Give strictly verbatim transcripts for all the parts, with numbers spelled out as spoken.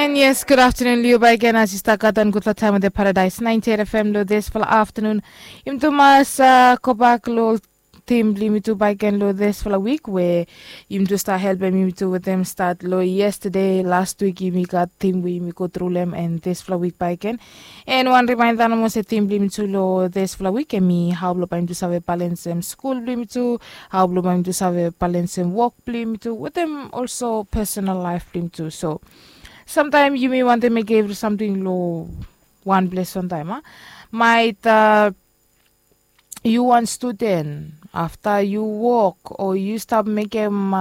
Yes, gud aftanun long yu bakegen. As yu stap gat wan gudfala taem wetem Paradise ninety-eight F M long disfala aftanun, yumi tu mas gobak long tim blong yumi tu bakegen long disfala wik we yumi tu stap helpem yumi tu wetem stat long yestade, las wik yumi gat tim we yumi go tru long hem, and disfala wik bakegen. And wan rimaenda nomo se tim blong yumi tu long disfala wik hemi hao blong bae yumi tu save balensem skul blong yumi tu, hao blong bae yumi tu save balensem wok blong yumi tu wetem olso pesonal laef blong yumi tu. So samtaem yumi wantem mekem evri samting long wan ples wantaem a, maet yu wan studen, afta yu wok o yu stap mekem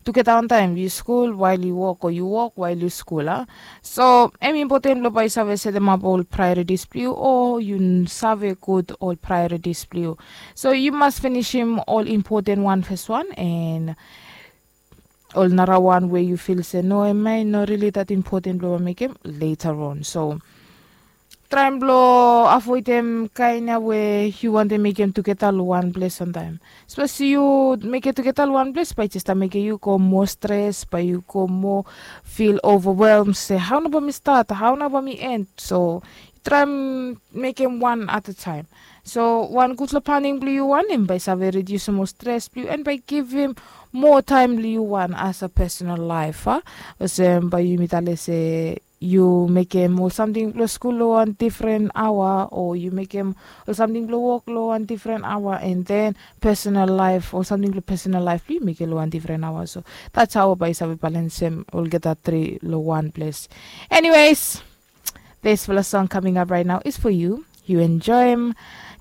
tugeta wantaem, yu skul wael yu wok o yu wok wael yu skul a. So hem impoten blong bae yu save setemap ol praeoritis blong yu o yu save gud ol praeoritis blong yu. So yu mas finisim ol impoten wan fes wan, and ol narawan we yu fil se no, hemia i no rili dat impoten blong mekem leta ron. So traem blong avoedem kaen ya we yu wantem mekem tugeta long wan ples wantaem. Sapos yu mekem tugeta long wan ples bae i jes stap mekem yu go moa stres, bae yu go moa fil ovawelm se hao nao bae mi stat, hao nao bae mi en. So traem mekem wan at a taem. So wan gudfala planing blong yu wan hem bae i save ridiusim ol stres blong yu and bae i givim moa taem blong yu wan as a pesonal laef a. Olsem bae yumi talem se yu mekem ol samting blong skul long wan difren aoa o yu mekem ol samting blong wok long wan difren aoa, and then pesonal laef, ol samting blong pesonal laef blong yu mekem long wan difren aoa. So that's hao bae yu save balensem olgeta tri long wan ples. Anyways, this fala song coming up right now is for you. You enjoy him.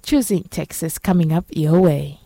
Choosing Texas coming up your way.